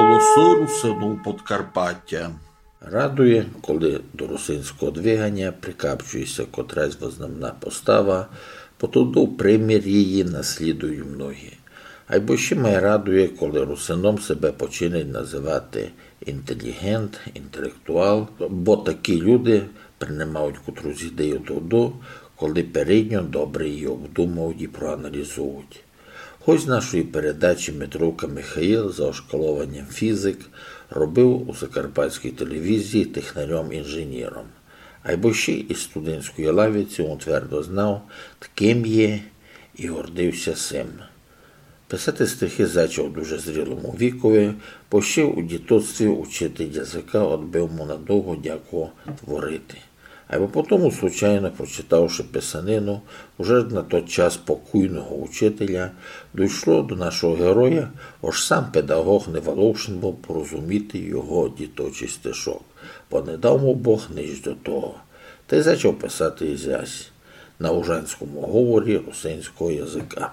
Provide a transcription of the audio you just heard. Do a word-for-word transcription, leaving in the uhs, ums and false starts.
Голосы русинов Подкарпатя. Радує, коли до русинського двиганя прикапчує ся котрась вызнамна постава, бо тото примір її наслідують многі. Айбо ще май радує, коли русином себе починать называти інтеліґент, інтелектуал, бо такі люди принимають котрус ідею тогды, коли передньо добре її обдумують і проаналізують. Гость нашої передачі Митровка Михаїл за ошколованям фізик робив у Закарпатській телевізії технарьом-інженером. Айбо ще із студентської лавиці он твердо знав, ким є, і гордив ся сим. Писати стихи зачав у дуже зрілому вікови, бо ще у дітоцтві учитель языка одбив му надовго дяку творити. Айбо потому, случайно прочитавши писанину уже на тот час покойного учителя, дійшло до нашого героя, ож сам педаґоґ не волошен быв порозуміти його діточий стишок, бо не дав му Бог нич до того. Тай зачав писати ізясь на ужанському говорі русинського языка.